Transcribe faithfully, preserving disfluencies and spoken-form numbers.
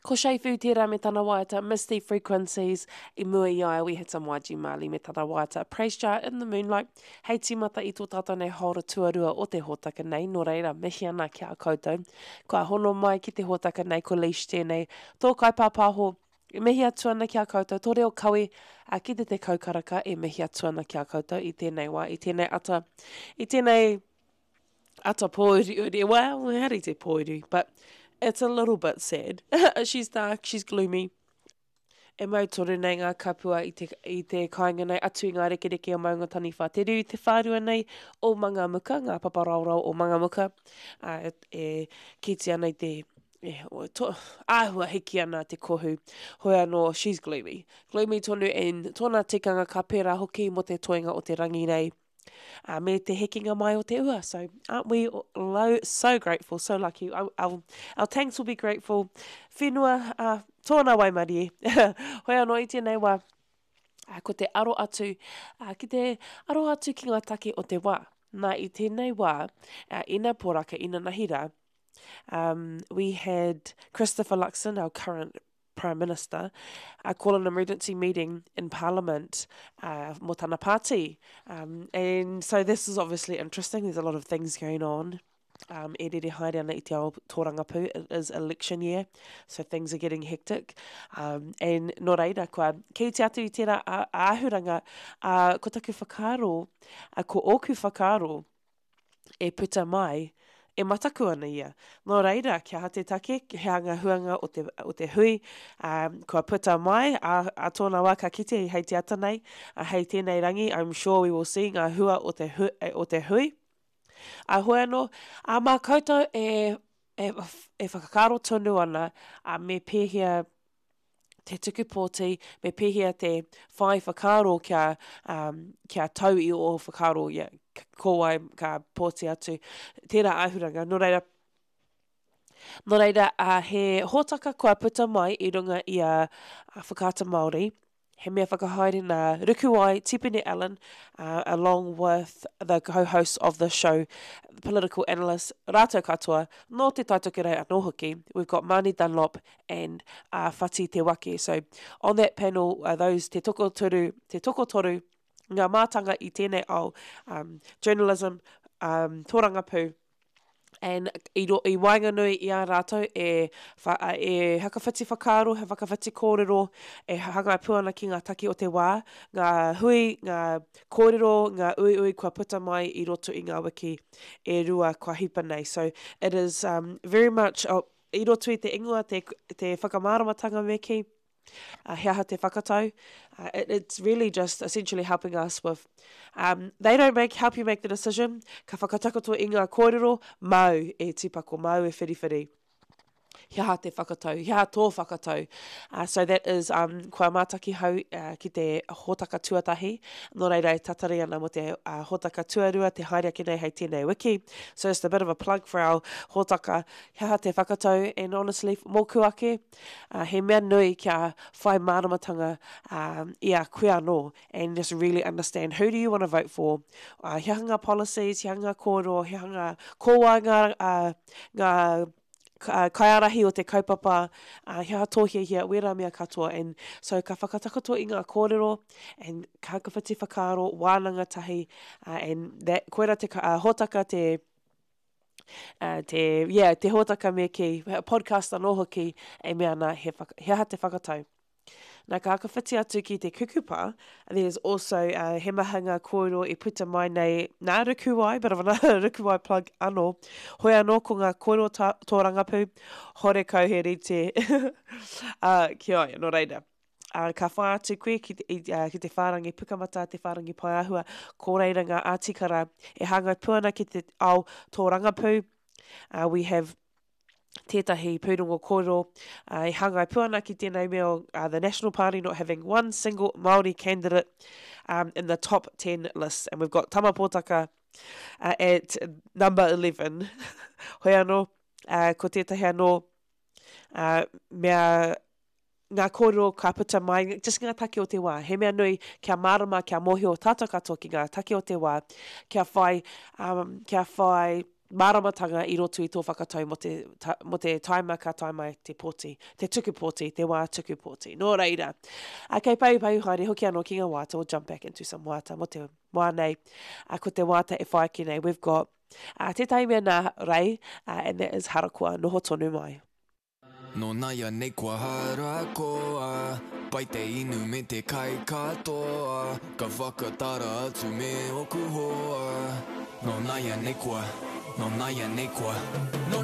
Ko Che Fu tērā me tana waiata Misty Frequencies i mua i a ia we had some YG Marley me tana waiata Praise Jah in the Moonlight hei tīmata i tō tātou nei hāora tuarua o te hōtaka nei nō reira mihi ana ki a koutou kua hono mai ki te hōtaka nei ko Leish tēnei tō kaipāpāho e mihi atu ana ki a koutou tō reo kawe a ki te tekau karaka e mihi atu ana ki a koutou i tēnei wā i tēnei ata i tēnei ata pōuriuri well ehara i te pōuri but it's a little bit sad. she's dark, she's gloomy. E mau tonu nei ngā kapua i te, i te kāinga nei atu i ngā rekereke o Maungataniwha. Te riu te whārua nei o Mangamuka, ngā paparaorao o Mangamuka, uh, e kiti ana i te e, o, to, āhua hiki ana te kohu. Hoi anō, she's gloomy. Gloomy tonu and tōna tikanga ka pērā hoki mō te toenga o te rangi nei. Uh, me te hekenga mai o te ua. So aren't we low, so grateful, so lucky. Our, our, our tanks will be grateful. Whenua, uh, tōna waimarie. Hoi anō i tēnei wā, uh, ko te aro atu, uh, ki te aro atu ki ngā take o te wā. Nā i tēnei wā, uh, ina poraka, ina nahira, um, we had Christopher Luxon, our current Prime Minister, uh, call an emergency meeting in Parliament uh, mō tana party. Um, and so this is obviously interesting. There's a lot of things going on. Um, e rere haere ana i te ao tōrangapū. It is election year, so things are getting hectic. Um, and nō reira, kua kī te atu i tērā āhuranga, uh, ko taku whakaaro, uh, ko ōku whakaaro e puta mai, e mataku ana ia. Nō reira, kia ha te take, he anga huanga o te, o te hui, um, kua puta mai, a, a tōna wā ka kite hei te ata nei, a hei tēnei rangi, I'm sure we will see ngā hua o te, hu, o te hui. A hoi anō, a mā koutou e, e, e whakakaaro tonu ana, a me pēhea te tuku pōti, me pēhea te whai whakaaro kia, um, kia tau i o whakaaro, yeah, ko wai ka pōti atu. Tērā āhuranga. Nō reira, nō reira uh, he hōtaka kua puta mai i runga i a, a Whakaata Māori, he mea whakahaere nā Rukuwai Tipene Allen, uh, along with the co-host of the show, the political analyst rātou katoa, nō te Taitokerau anō hoki. We've got Mani Dunlop and uh, Whati Te Wake. So on that panel are those te tokotoru, te tokotoru, ngā mātanga i tēnei ao, um, journalism, um, tōrangapū, and i, ro, i waenganui i a rātou e, wha, e hakawhiti whakaaro, he whakawhiti kōrero, e hanga pū ana ki ngā take o te wā, ngā hui, ngā kōrero, ngā uiui kua puta mai i roto i ngā wiki e rua kua hipa nei. So it is um, very much, oh, i roto i te ingoa, te, te whakamāramatanga me ki, uh, he aha te whakatau. Uh, it, it's really just essentially helping us with, um, they don't make, help you make the decision, ka whakatakoto i ngā kōrero, māu e tīpako, māu e whiriwhiri. He aha te whakatau, he aha tō whakatau. Uh, so that is um, kua mātaki hau uh, ki te hōtaka tuatahi. Nō reira e tatari ana mo te uh, hōtaka tuarua, te haere ake nei hei tēnei wiki. So just a bit of a plug for our hōtaka. He aha te whakatau, and honestly, mōku ake, uh, he mea nui kia whai māramatanga um, i a koe anō, and just really understand who do you want to vote for. Uh, he aha ngā policies, he aha ngā kōrero, he aha ngā kōwai ngā, uh, ngā uh, kaiārahi o te kaupapa, uh, he aha tō hiahia, wērā mea katoa. And so ka whakatakoto i ngā kōrero, and ka whakawhiti whakaaro, wānanga tahi, uh, and that, koira te uh, hōtaka te, uh, te, yeah, te hōtaka me ki, podcast anō hoki, e mea ana he, whaka, he aha te whakatau. Nā ka whakawhiti atu ki te kukupa, there's also uh, he maha ngā kōrero i puta mai nei nā Rukuwai, bit of another Rukuwai plug anō. Hoi anō ko ngā kōrero tā, tōrangapū, hore kau he rite uh, ki a ia, nō reira. Uh, ka whai atu koe ki te, i, uh, ki te whārangi pukamata, te whārangi paeāhua, ko reira ngā ātikara e hāngai pū ana ki te ao tōrangapū. Uh, we have tētahi pūrongo kōrero uh, e hāngai pū ana ki tēnei mea o uh, the National Party not having one single Māori candidate um, in the top ten list. And we've got Tama Pōtaka uh, at number eleven. Hoi anō, uh, ko tētahi anō uh, mea ngā kōrero ka puta mai, just ngā take o te wā. He mea nui kia mārama, kia mōhio tātou katoa ki ngā take o te wā, kia whai, um, kia whai māramatanga i roto i tō whakatau mō te, ta, mō te taima ka tae mai te pōti, te tuku pōti, te wā tuku pōti. Nō reira, a, kei pau pau haere hoki anō ki ngā waiata, we'll jump back into some waiata mō te wā nei. A, ko te waiata e whai ake nei, we've got uh, tētahi mea nā Rei, uh, and that is Harakoa, noho tonu mai. Nō nāianei kua harakoa, Pai te inu me te kai katoa, Ka whakatara atu me oku hoa. Nō nāianei kua, nō nāianei kua, Nō